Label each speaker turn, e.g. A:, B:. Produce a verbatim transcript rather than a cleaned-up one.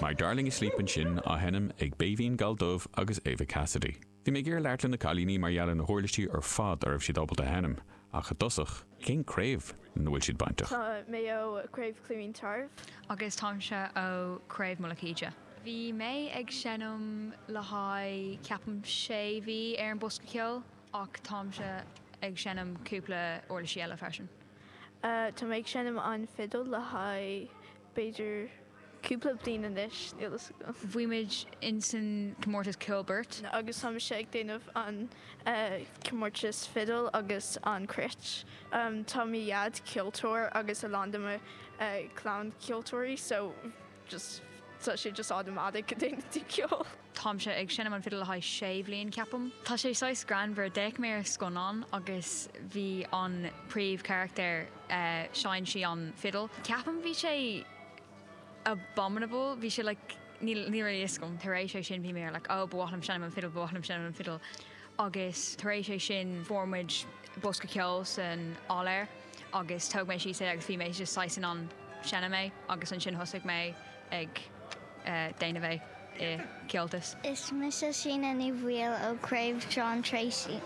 A: My Darling Asleep ansin á sheinm ag Béibhinn Galldubh agus Ava Cassidy. Bhí mé ag iarraidh labhairt le na cailíní mar gheall ar na huirlisí ar fad a raibh siad ábalta a sheinm, ach i dtosach, cén craobh lena bhfuil siad bainteach?
B: Tá mé ó Craobh Cluain Tarbh.
C: Agus táimse ó Craobh Mullach Íde. Bhí mé ag seinm le haghaidh ceapaim sé mhí ar an bosca ceoil ach táimse ag seinm cúpla uirlisí eile freisin.
B: Tá mé ag seinm an fidil le haghaidh b'fhéidir cúpla bliain anois, níl fhios agam.
C: Bhí muid insan comórtas ceol beirt.
B: Agus tá mise ag déanamh an comórtas fidil agus an cruit. Tá mo dhaid ceoltóir agus a lán de mo clann ceoltóirí so just tá sé just automatic go déanann tú ceol.
C: Táimse ag seinm an fidil le haghaidh sé bhliain ceapaim. Tá sé saghas greannmhar, d'fhéach mé ar scannán agus bhí an príomhcharachtar sheinn sí an fidil. Ceapaim bhí sé abominable, bhí sé like níl níl really fhios agam. Tar éis é sin bhí mé ar like oh ba mhaith liom seinm an fidil, ba mhaith liom seinm an fidil. Agus tar éis é sin fuair muid bosca ceoil san áiléar agus tóg mé síos é agus bhí mé just saghas in ann seinm é agus ansin thosaigh mé ag déanamh é i Comhaltas.
D: Is mise Síne Ní Bhaoill ó Craobh John Tracy.